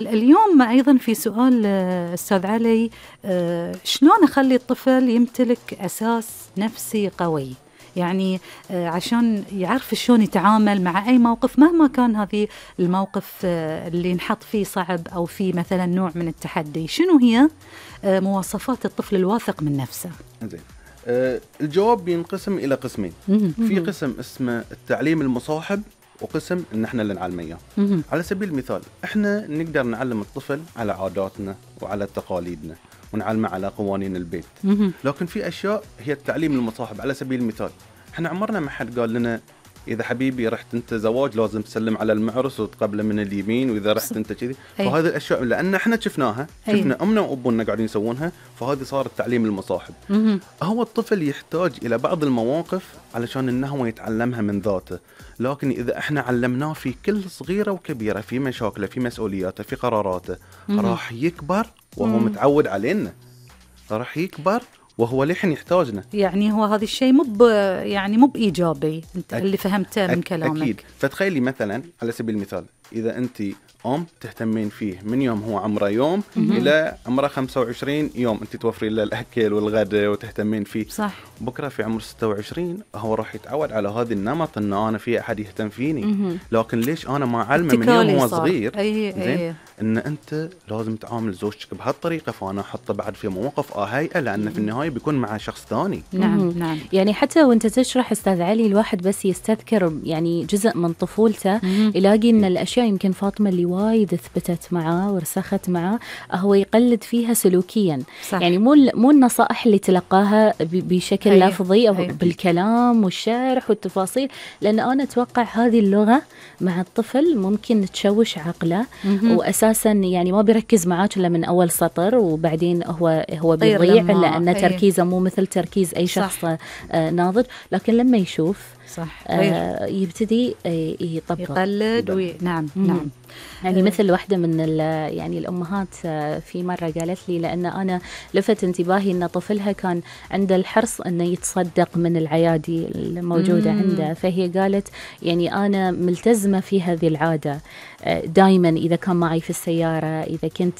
اليوم أيضا في سؤال أستاذ علي، شلون أخلي الطفل يمتلك أساس نفسي قوي؟ يعني عشان يعرف شلون يتعامل مع أي موقف مهما كان هذه الموقف اللي نحط فيه صعب أو فيه مثلا نوع من التحدي. شنو هي مواصفات الطفل الواثق من نفسه؟ زين. الجواب ينقسم إلى قسمين. في قسم اسمه التعليم المصاحب، وقسم ان احنا اللي نعلمه اياه. على سبيل المثال احنا نقدر نعلم الطفل على عاداتنا وعلى تقاليدنا ونعلمه على قوانين البيت. لكن في اشياء هي التعليم المصاحب. على سبيل المثال احنا عمرنا ما حد قال لنا اذا حبيبي رحت انت زواج لازم تسلم على المعرس وتقبله من اليمين، واذا رحت انت كذي. فهذه الاشياء لان احنا شفناها، شفنا امنا وابونا قاعدين يسوونها، فهذه صار التعليم المصاحب. هو الطفل يحتاج الى بعض المواقف علشان انه هو يتعلمها من ذاته. لكن اذا احنا علمناه في كل صغيره وكبيره، في مشاكله، في مسؤولياته، في قراراته، راح يكبر وهو متعود علينا، راح يكبر وهو لحن يحتاجنا. يعني هو هذا الشيء مو بإيجابي انت اللي فهمته من كلامك. أكيد. فتخيلي مثلا على سبيل المثال إذا أنت تهتمين فيه من يوم هو عمره يوم إلى عمره 25 يوم، أنت توفرين له الأكل والغداء وتهتمين فيه. صح. بكرة في عمر 26 هو راح يتعود على هذا النمط إن أنا في أحد يهتم فيني. لكن ليش أنا ما أعلمه من يوم هو صغير زين إن أنت لازم تعامل زوجتك بهالطريقة، فأنا أحطه بعد في مواقف هيئة، لأن في النهاية بيكون مع شخص ثاني. نعم. يعني حتى وأنت تشرح أستاذ علي الواحد بس يستذكر يعني جزء من طفولته، يلاقي إن الأشياء يمكن فاطمة اللي وايد ثبتت معاه ورسخت معاه هو يقلد فيها سلوكيا. صح. يعني مو النصائح اللي تلقاها بشكل لفظي أو بالكلام والشرح والتفاصيل، لأن أنا أتوقع هذه اللغة مع الطفل ممكن تشوش عقله، وأساسا يعني ما بيركز معاك إلا من أول سطر، وبعدين هو بيضيع لأن تركيزه مو مثل تركيز أي شخص ناضج. لكن لما يشوف يبتدي يطبق يقلد نعم. يعني مثل واحدة من يعني الأمهات في مرة قالت لي، لأن أنا لفت انتباهي أن طفلها كان عنده الحرص أنه يتصدق من العيادي الموجودة عنده، فهي قالت يعني أنا ملتزمة في هذه العادة دائما. إذا كان معي في السيارة، إذا كنت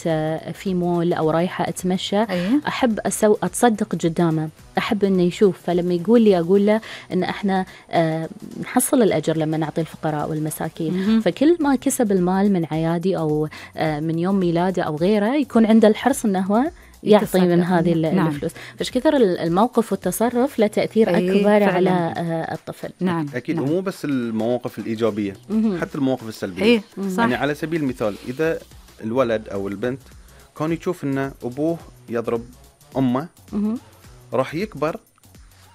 في مول أو رايحة أتمشى، أحب أتصدق قدامه، أحب أنه يشوف. فلما يقول لي أقول له أن إحنا نحصل الأجر لما نعطي الفقراء والمساكين. فكل ما كسب المال من عيادي أو من يوم ميلاده أو غيره يكون عنده الحرص أنه هو يعطي من هذه الفلوس. فش كثر الموقف والتصرف له تأثير أكبر على الطفل. نعم. أكيد. ومو بس المواقف الإيجابية، حتى المواقف السلبية. يعني على سبيل المثال إذا الولد أو البنت كان يشوف أن أبوه يضرب أمه، راح يكبر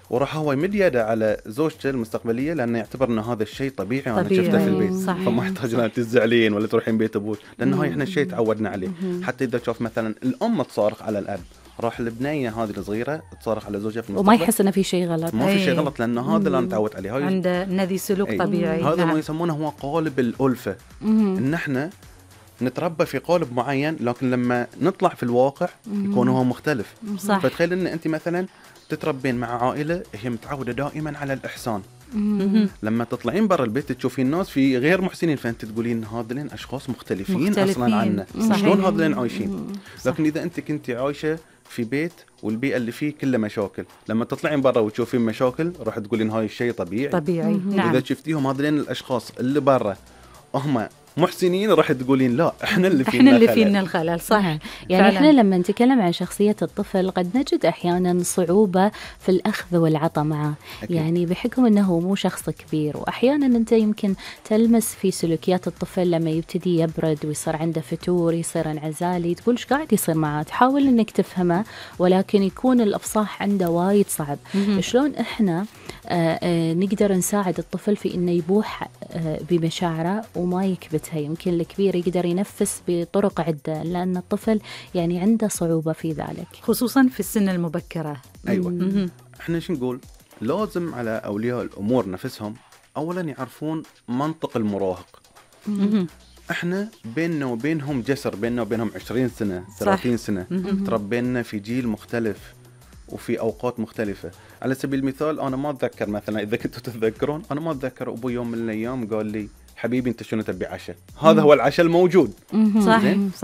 وراح هو يمد يده على زوجته المستقبليه، لانه يعتبر ان هذا الشيء طبيعي وانا شفته في البيت. فما يحتاج ان تزعلين ولا تروحين بيت ابوك، لانه هاي احنا الشيء تعودنا عليه. حتى اذا شوف مثلا الام تصارخ على الاب، راح البنيه هذه الصغيره تصارخ على زوجها في المستقبل وما يحس انه في شيء غلط. ما في شيء غلط، لانه هذا اللي انا تعودت عليه. عند الذي سلوك طبيعي. هذا ما يسمونه هو قالب الالفه. ان احنا نتربى في قالب معين، لكن لما نطلع في الواقع يكون هو مختلف. فتخيل ان انت مثلا تتربين مع عائلة هي متعودة دائما على الإحسان. لما تطلعين برا البيت تشوفين الناس في غير محسنين، فأنت تقولين هذين أشخاص مختلفين أصلا عنا، شلون هذين عايشين. لكن إذا أنت كنتي عايشة في بيت والبيئة اللي فيه كله مشاكل، لما تطلعين برا وتشوفين مشاكل راح تقولين هاي الشيء طبيعي. نعم. إذا شفتيهم هذين الأشخاص اللي برا هم محسنين، راح تقولين لا احنا اللي فينا الخلل. صح. يعني احنا لما نتكلم عن شخصية الطفل قد نجد احيانا صعوبة في الاخذ والعطاء معه. يعني بحكم انه مو شخص كبير، واحيانا انت يمكن تلمس في سلوكيات الطفل لما يبتدي يبرد ويصير عنده فتور، يصير انعزالي، تقول ايش قاعد يصير معه، تحاول انك تفهمه، ولكن يكون الافصاح عنده وايد صعب. شلون احنا نقدر نساعد الطفل في انه يبوح بمشاعره وما يكبت؟ يمكن الكبير يقدر ينفس بطرق عدة، لأن الطفل يعني عنده صعوبة في ذلك، خصوصا في السن المبكرة. أيوة. احنا شو نقول؟ لازم على أولياء الأمور نفسهم أولا يعرفون منطق المراهق. احنا بيننا وبينهم جسر، بيننا وبينهم 20 سنة 30 سنة. تربينا في جيل مختلف وفي أوقات مختلفة. على سبيل المثال أنا ما أتذكر مثلا، إذا كنتوا تتذكرون، أنا ما أتذكر أبوي يوم من الأيام قال لي حبيبي انت شنو تبي عشاء؟ هذا هو العشاء الموجود. صح.